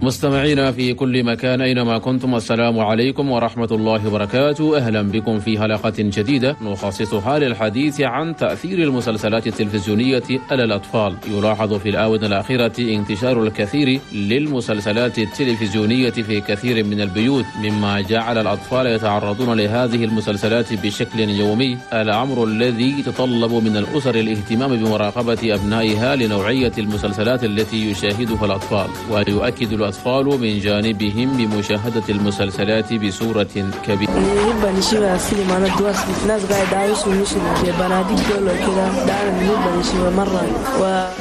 مستمعينا في كل مكان أينما كنتم، السلام عليكم ورحمة الله وبركاته. أهلا بكم في حلقة جديدة نخصصها للحديث عن تأثير المسلسلات التلفزيونية على الأطفال. يلاحظ في الآونة الأخيرة انتشار الكثير للمسلسلات التلفزيونية في كثير من البيوت، مما جعل الأطفال يتعرضون لهذه المسلسلات بشكل يومي، الأمر الذي يتطلب من الأسر الاهتمام بمراقبة أبنائها لنوعية المسلسلات التي يشاهدها الأطفال. ويؤكد الأطفال من جانبهم بمشاهدة المسلسلات بصورة كبيرة. نحب نشوف فيلم أنا دواس ناس قاعد عايش ونمشي بناديك دول وكذا، ده أنا نحب نشوف مرة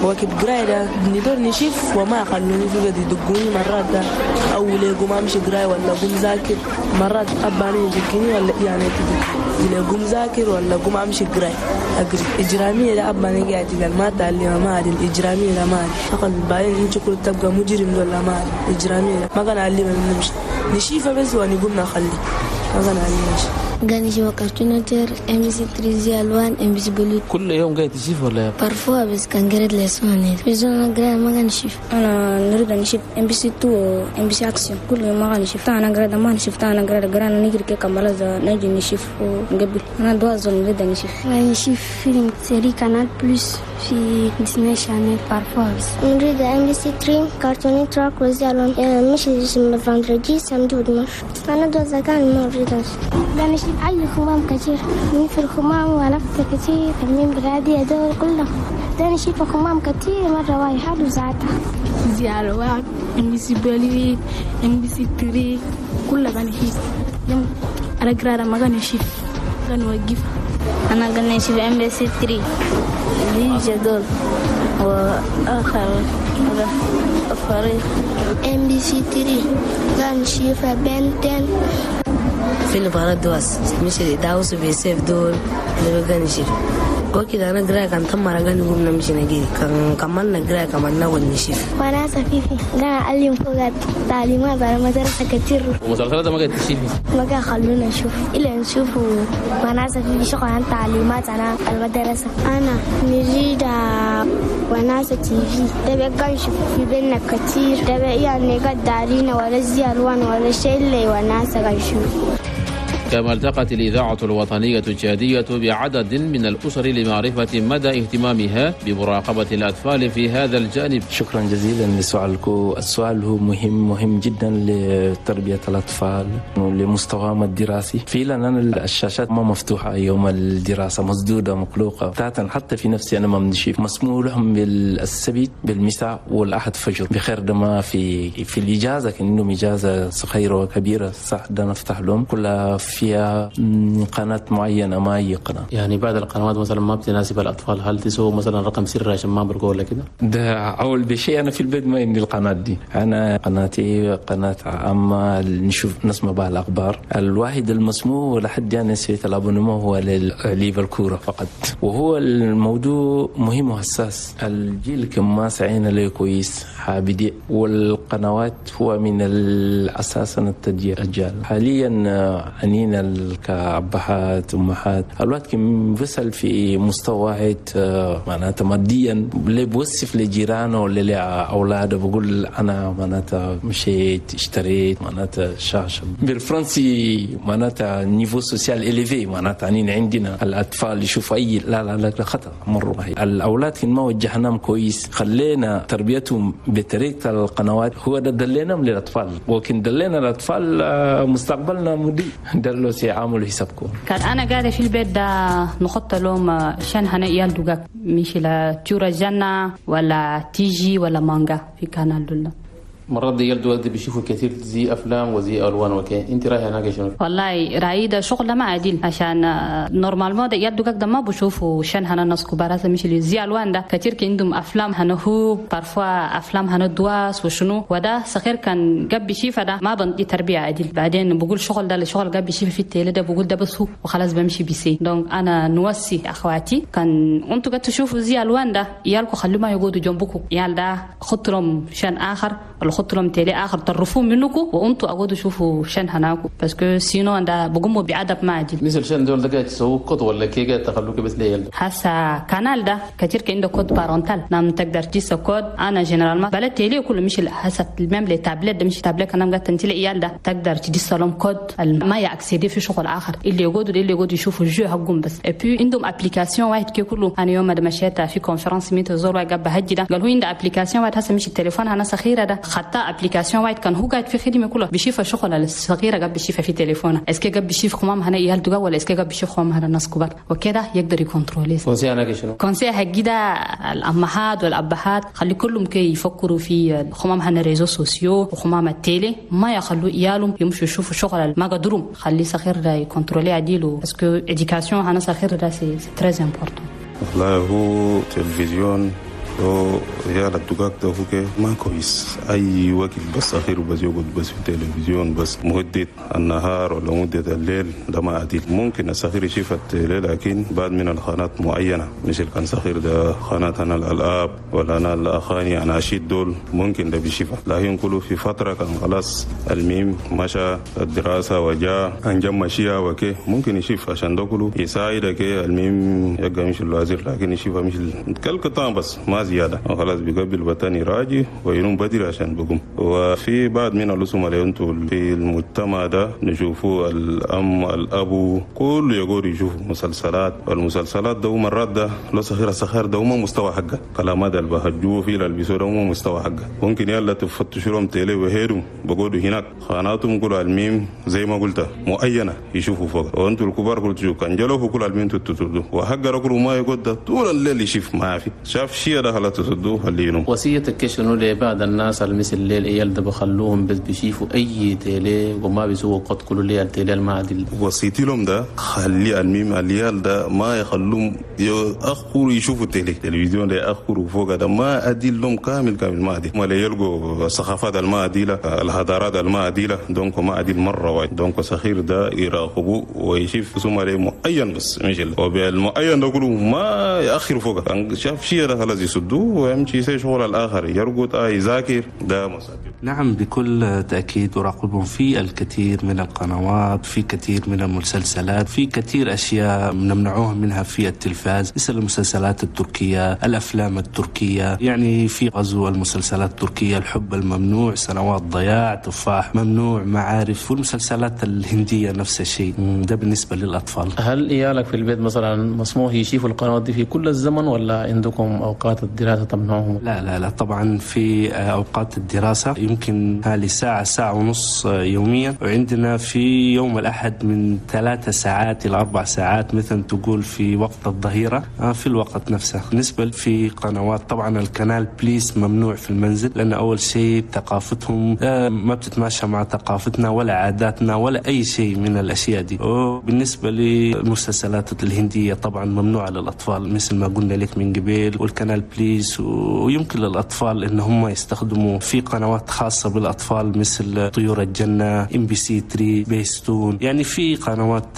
ووقت قراية ده ندور نشوف وما يخلوني في قد يدقوني مرات ده أو ليقوم أمشي قراية ولا قوم ذاكر، مرات أباني يدقني ولا يعني تدقني قوم ذاكر ولا قوم أمشي قراية أقري إجرامية ده أباني قاعد قال ما تعلم ما أدري الإجرامية ده ما أدري أقل بعدين أنت كل تبقى مجرم ولا ما أدري إجرامية ما كان علم نمشي نشيفه بس ونقوم نخلي ما كان علم شيء. قاعد نشوف Cartoon Network، MBC 3، زي ألوان، MBC Bollywood. كل يوم قاعد تشوف ولا؟ parfois بس كان قريت leçon بس أنا قريت ما قاعد نشوف. أنا نريد نشوف MBC 2، MBC Action كل يوم ما قاعد نشوف. أنا قريت ما نشوف، أنا قريت قرانا نجري كي كمالة نجي نشوف ونقبل. أنا دواز نريد نشوف. نشوف فيلم série Canal Plus في Disney Channel parfois بس. نريد MBC 3، Cartoon Network وزي ألوان، مش اسم vendredi samedi و dimanche. أنا دواز كان ما نريد نشوف أي خمام كثير من في الخمام ولفت كثير من بلادي هدول كلهم ده نشوف خمام كثير مرة واحد وساعتها زي ألوان MBC Bollywood، MBC 3 كلها بنشوف. أنا قرارة ما قاعد نشوف قاعد نوقف. أنا قاعد نشوف MBC 3 زي جدول وآخر فريق MBC 3 قاعد نشوف Ben 10. فيلم قناة دواس مش داوس بيسيف دول اللي بقى نشوف وكده. أنا قراية كان تم قاعد نقوم نمشي نجري كان كملنا قراية كمان نقول نشوف. وأنا سفيفي قاعد أعلم فوق تعليمات على مدرسة كتير. ومسلسلات ما قاعد تشوفي؟ ما قاعد خلونا نشوف إلا نشوف وأنا سفيفي شغل عن تعليمات على المدرسة. أنا نريد وناسة TV ده بقى نشوف في بينا كتير ده بقى يعني قد دارينا ولا زي ألوان ولا شيء اللي وناسة قاعد نشوف. كما التقت الإذاعة الوطنية التشادية بعدد من الأسر لمعرفة مدى اهتمامها بمراقبة الأطفال في هذا الجانب. شكرا جزيلا لسؤالكم. السؤال هو مهم مهم جدا لتربية الأطفال ولمستواهم الدراسي. فعلا أنا الشاشات ما مفتوحة يوم الدراسة، مسدودة مغلوقة تاتا، حتى في نفسي أنا ما بنشوف. مسموح لهم بالسبت بالمساء والأحد فجر بخير، ده ما في الإجازة كأنهم إجازة صغيرة وكبيرة صح، ده نفتح لهم كلها فيها قناة معينة ما أي قناة. يعني بعض القنوات مثلا ما بتناسب الأطفال، هل تسووا مثلا رقم سري عشان ما برقوا ولا كده؟ ده أول بشيء أنا في البيت ما عندي القناة دي، أنا قناتي قناة عامة نشوف نسمع بها الأخبار. الواحد المسموح لحد أنا سويت ال abonnement هو للعب الكورة فقط، وهو الموضوع مهم وحساس. الجيل كما سعينا له كويس حابدي، والقنوات هو من الأساس التدير الأجيال حاليا. أنينا كأبهات أمهات الوقت كم بيصل في مستوى واحد معناتها ماديا اللي بوصف لجيرانه ولا لأولاده بقول أنا معناتها مشيت اشتريت معناتها شاشة بالفرنسي معناتها niveau social élevé، معناتها أنينا عندنا الأطفال يشوفوا أي لا لا لا خطأ مرة. الأولاد ما وجهناهم كويس خلينا تربيتهم بطريقة القنوات، هو ده دليناهم للأطفال، وكن دلينا الأطفال مستقبلنا مضيء دلوا سيعملوا حسابكم. كان أنا قاعدة في البيت ده نحط لهم شان هنا إيال دوغاك مش لا تورا جنة ولا تيجي ولا مانجا في canal دولا. مرات دي يلدو بيشوفوا كثير زي افلام وزي الوان وكي، انت رايح هناك شنو؟ والله رايي ده شغل ما عديل، عشان normalement ده يلدو ده ما بشوفوا شان هنا الناس كبار مش اللي زي الوان ده كثير كي عندهم افلام هنا هو parfois افلام هنا دواس وشنو، وده صغير كان قب بيشوف ده ما بنطي تربيه عديل. بعدين بقول شغل ده الشغل قب بيشوف في ال télé ده بقول ده بس هو وخلاص بمشي بيسي. donc انا نوصي اخواتي كان انتوا قد تشوفوا زي الوان ده يالكو خلوا ما يقعدوا جنبكم، يال ده خطرهم شان اخر. خطوا لهم télé اخر طرفوه منكم وانتوا اقعدوا شوفوا شن هناكم parce que sinon ده بقوموا بأدب ما عديل. مثل شن دول ده تسووا كود ولا كي تخلوك بس ليه؟ هسا canal ده كثير عنده code parental، نعم تقدر تجيس كود. انا généralement بلا télé كله مش هسا même les tablettes ده مش تابلت انا قاعد تنتلي عيال ده تقدر تدس لهم كود ما ي accéder في شغل اخر اللي يقعدوا يشوفوا ال jeu حقهم بس. et puis عندهم application واحد كي كله. انا يوم ما مشيت في conférence ميت زور واحد قبل هجي ده قال هو عنده application واحد هسه مش التليفون انا صغيرة ده خطا application واحد كان هو قاعد في خدمة كله بيشوف الشغل الصغيرة قبل بيشوفها في تليفونه est-ce que قبل بيشوف خمام هنا عيال دقا ولا est-ce que قبل بيشوف خمام هنا الناس كبار وكده يقدر ي contrôler. conseil انا شنو؟ conseil حقي ده الامهات والابهات خلي كلهم كي يفكروا في خمام هنا réseaux sociaux وخمام ال télé، ما يخلوا عيالهم يمشوا يشوفوا شغل ما قدروا، خلي صغير ده ي contrôler عديلو parce que éducation هنا صغير ده c'est très important. والله هو تلفزيون هو يا الدقاق ده هو ما كويس اي وقت، بس اخير بس يقعد بس في التلفزيون بس مدة النهار ولا مدة الليل ده ما عديل. ممكن الصغير يشوف ال télé لكن بعد من القناة معينة، مش كان صغير ده قناة انا الالعاب ولا انا الاغاني اناشيد دول ممكن ده بيشوفها، لكن كله في فترة كان خلاص الميم مشى الدراسة وجاء انجم مشيها وكي ممكن يشوف عشان ده كله يساعدك الميم يبقى مش الوزير، لكن يشوفها مش كل بس ما زيادة خلاص بيقبل بتاني راجي وينوم بدري عشان بقوم. وفي بعض من الرسوم اللي انتوا في المجتمع ده نشوفوا الأم الأبو كله يقول يشوفوا مسلسلات، والمسلسلات ده مرات ده لو صغير صغير ده ما مستوى حقه، كلامات اللي بهجوه في البسوا ده ما مستوى حقه. ممكن يلا تفتشوا لهم télé وهيرهم بقولوا هناك قناتهم كل الميم زي ما قلت معينة يشوفوا فوق، وانتوا الكبار كل تشوفوا كان جلوه كل الميم تتردوا وحق رجل ما يقعد طول الليل يشوف ما في شاف شيء ده خلاص تصدوه خلينه. وصيتك شنو لبعض الناس المثل الليل عيال ده بخلوهم بس بيشوفوا اي télé وما بيسووا قد كل ليل télé ما عدل؟ وصيتي لهم ده خلي الميم العيال ده ما يخلوهم يأخروا يشوفوا ال télé التلفزيون ده يأخروا فوق ده ما أديل لهم كامل كامل ما أديل، ما يلقوا الثقافات الما أديلة الحضارات الما أديلة donc ما أديل مرة واحد. donc صغير ده يراقبوا ويشوف ثم معين بس مش وبالمعين ده كله ما يأخر فوق شاف شيء ده خلاص يسدوه ويمشي يسوي شغل الآخر يرقد يذاكر ده مصادر. نعم بكل تأكيد أراقبهم في الكثير من القنوات، في كثير من المسلسلات، في كثير أشياء نمنعوهم منها في التلفاز مثل المسلسلات التركية، الأفلام التركية، يعني في غزو المسلسلات التركية، الحب الممنوع، سنوات ضياع، تفاح ممنوع، معارف، والمسلسلات الهندية نفس الشيء. ده بالنسبة للأطفال. هل إيالك في البيت مثلا مسموح يشوفوا القنوات دي في كل الزمن ولا عندكم أوقات الدراسة تمنعهم؟ لا لا لا طبعا في أوقات الدراسة يمكن حوالي ساعة ساعة ونص يوميا، وعندنا في يوم الأحد من 3 ساعات إلى 4 ساعات مثلا تقول في وقت الظهيرة في الوقت نفسه. بالنسبة في قنوات طبعا ال Canal Plus ممنوع في المنزل، لأن أول شيء ثقافتهم ما بتتماشى مع ثقافتنا ولا عاداتنا ولا أي شيء من الأشياء دي. وبالنسبة للمسلسلات الهندية طبعا ممنوعة للأطفال مثل ما قلنا لك من قبل، وال Canal Plus، ويمكن للأطفال إن هم يستخدموا في قنوات خاصة بالأطفال مثل طيور الجنة، MBC 3، سبيستون، يعني في قنوات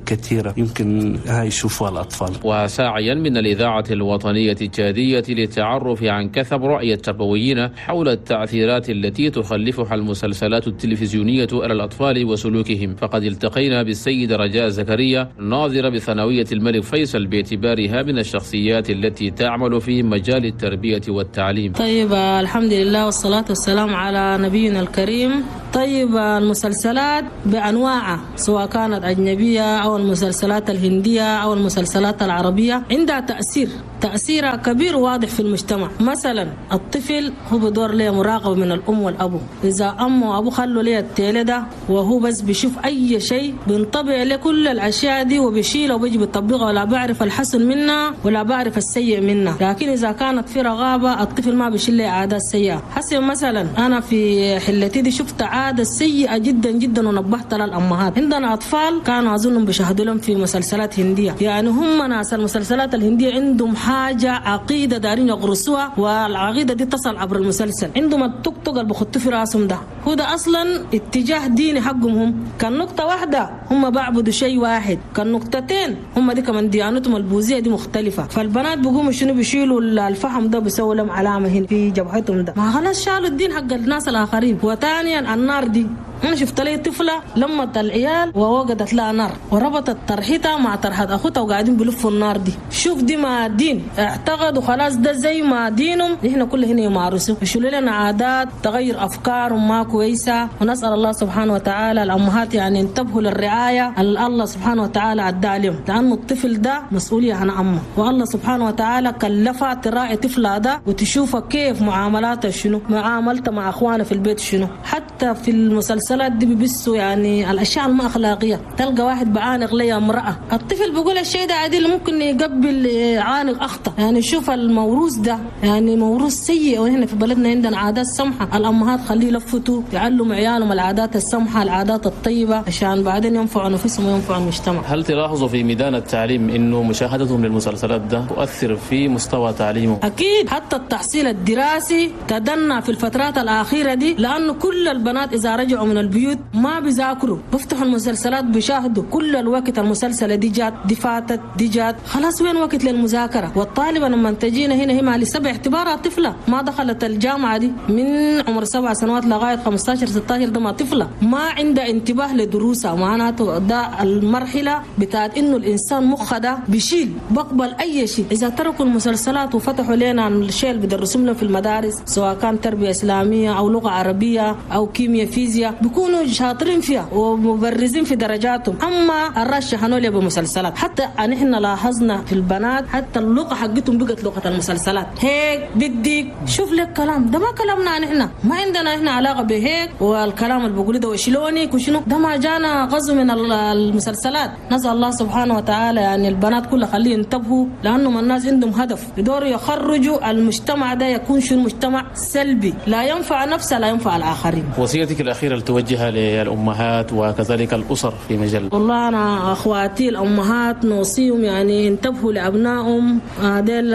كثيرة يمكن هاي يشوفوها الأطفال. وساعيا من الإذاعة الوطنية التشادية للتعرف عن كثب رأي التربويين حول التأثيرات التي تخلفها المسلسلات التلفزيونية على الأطفال وسلوكهم، فقد التقينا بالسيد رجاء زكريا ناظر بثانوية الملك فيصل باعتبارها من الشخصيات التي تعمل في مجال التربية والتعليم. طيب الحمد لله والصلاة والسلام على نبينا الكريم. طيب المسلسلات بأنواعها سواء كانت أجنبية أو المسلسلات الهندية أو المسلسلات العربية عندها تأثيرها كبير واضح في المجتمع. مثلا الطفل هو بدور له مراقبة من الأم والأبو، إذا أمه وأبوه خلوا له ال télé ده وهو بس بيشوف أي شيء بينطبع له كل الأشياء دي وبيشيله وبيجي بيطبقها، ولا بعرف الحسن منها ولا بعرف السيء منها. لكن إذا كانت في رغابة الطفل ما بيشيل له عادات سيئة. حسن مثلا أنا في حلتي دي شفت عادة عادة سيئة جدا جدا، ونبهت للأمهات. عندنا أطفال كانوا أظنهم بيشاهدوا لهم في مسلسلات هندية، يعني هم ناس المسلسلات الهندية عندهم حاجة عقيدة دارين يغرسوها، والعقيدة دي تصل عبر المسلسل. عندهم التوك توك اللي بخطوا في راسهم ده هو ده أصلا اتجاه ديني حقهم هم. كان نقطة واحدة هم بعبدوا شيء واحد، كان نقطتين هم دي كمان ديانتهم البوذية دي مختلفة. فالبنات بيقوموا شنو بيشيلوا الفحم ده بيسووا لهم علامة هنا في جبهتهم ده، ما خلاص شالوا الدين حق الناس الآخرين. وثانيا النار دي، أنا شفت لي طفلة لمت العيال ووجدت لها نار وربطت طرحتها مع طرحة أخوتها وقاعدين بلفوا النار دي. شوف دي ما دين، اعتقدوا خلاص ده زي ما دينهم، نحن كل هنا يمارسوا، يشيلوا لنا عادات تغير أفكارهم ما كويسة. ونسأل الله سبحانه وتعالى الأمهات يعني انتبهوا للرعاية الله سبحانه وتعالى عدى عليهم، لأنه الطفل ده مسؤولية عن أمه، والله سبحانه وتعالى كلفها تراعي طفلها ده وتشوفه كيف معاملاته شنو، معاملته مع أخوانه في البيت شنو. حتى في المسلسلات دي بيبسوا يعني الاشياء الما اخلاقيه، تلقى واحد بعانق لي امراه، الطفل بيقول الشيء ده عادي، ممكن يقبل عانق اخطا. يعني شوف الموروث ده يعني موروث سيء، وهنا في بلدنا عندنا عادات سمحه، الامهات خليه يلفتوا يعلموا عيالهم العادات السمحه العادات الطيبه عشان بعدين ينفعوا نفسهم وينفعوا المجتمع. هل تلاحظوا في ميدان التعليم انه مشاهدتهم للمسلسلات ده تؤثر في مستوى تعليمهم؟ اكيد، حتى التحصيل الدراسي تدنى في الفترات الاخيره دي، لانه كل البنات اذا رجعوا من البيوت ما بيذاكروا، بيفتحوا المسلسلات بيشاهدوا كل الوقت، المسلسلة دي جات دي فاتت دي جات، خلاص وين وقت للمذاكرة؟ والطالبة لما تجينا هنا هي مع لسبع اعتبارها طفلة ما دخلت الجامعة دي من عمر 7 سنوات لغاية 15 16، ده ما طفلة ما عندها انتباه لدروسها. معناته ده المرحلة بتاعت انه الانسان مخه ده بيشيل بقبل اي شيء. اذا تركوا المسلسلات وفتحوا لنا الشيء اللي بيدرسوا لنا في المدارس سواء كان تربية اسلامية او لغة عربية او كيمياء فيزياء، بيكونوا شاطرين فيها ومبرزين في درجاتهم. اما الرش حنولي بمسلسلات، حتى نحن لاحظنا في البنات حتى اللغه حقتهم بقت لغه المسلسلات، هيك بدك شوف لك كلام ده ما كلامنا نحن، ما عندنا احنا علاقه بهيك، والكلام اللي بيقولوا ده وشلونك وشنو ده ما جانا غزو من المسلسلات. نسال الله سبحانه وتعالى يعني البنات كلها خليه ينتبهوا، لانه الناس عندهم هدف يدوروا يخرجوا المجتمع ده يكون شنو مجتمع سلبي لا ينفع نفسه لا ينفع الاخرين. وصيتك الاخيره توجهها للأمهات وكذلك الأسر في مجال؟ والله أنا أخواتي الأمهات نوصيهم يعني انتبهوا لأبنائهم، هذول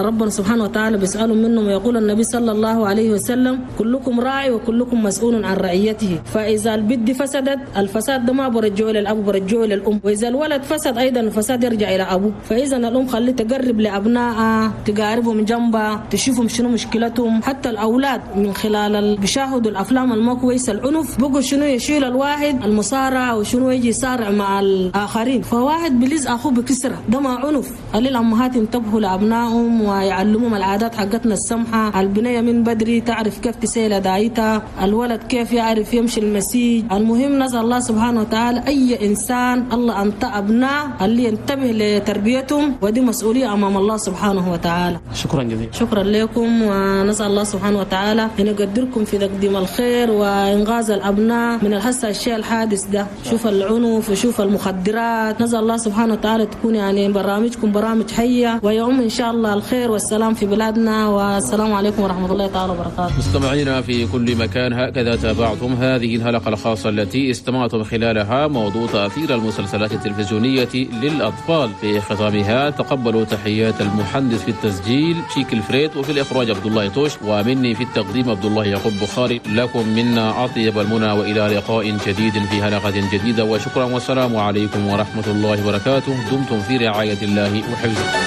ربنا سبحانه وتعالى بيسألهم منهم، ويقول النبي صلى الله عليه وسلم كلكم راعي وكلكم مسؤول عن رعيته. فإذا البنت فسدت الفساد ده ما برجعه للأب برجعه للأم، وإذا الولد فسد أيضا الفساد يرجع إلى أبوه. فإذا الأم خليه تقرب لأبنائها، تقاربهم جنبها، تشوفهم شنو مشكلتهم. حتى الأولاد من خلال بيشاهدوا الأفلام الما كويسة العنف بقوا شنو يشيل الواحد المصارعة وشنو يجي يصارع مع الآخرين، فواحد بلز أخوه بكسرة، ده ما عنف. خلي الأمهات ينتبهوا لأبنائهم ويعلموهم العادات حقتنا السمحة، البنية من بدري تعرف كيف تسيل دايتها، الولد كيف يعرف يمشي المسيج. المهم نسأل الله سبحانه وتعالى أي إنسان الله أنت أبناء اللي ينتبه لتربيتهم، ودي مسؤولية أمام الله سبحانه وتعالى. شكرا جزيلا. شكرا لكم، ونسأل الله سبحانه وتعالى أن يقدركم في تقديم الخير وإنغاز الأبناء من الحس الشيء الحادث ده، شوف العنف وشوف المخدرات. نسأل الله سبحانه وتعالى تكون يعني برامجكم برامج حية ويعم إن شاء الله الخير والسلام في بلادنا. والسلام عليكم ورحمة الله تعالى وبركاته. مستمعينا في كل مكان، هكذا تابعتم هذه الحلقة الخاصة التي استمعتم خلالها موضوع تأثير المسلسلات التلفزيونية للأطفال. في ختامها تقبلوا تحيات المهندس في التسجيل شيك الفريد، وفي الإخراج عبد الله توش، ومني في التقديم عبد الله يعقوب بخاري. لكم منا أطيب المنى، وإلى لقاء جديد في حلقة جديدة، وشكرا والسلام عليكم ورحمة الله وبركاته. دمتم في رعاية الله وحفظه.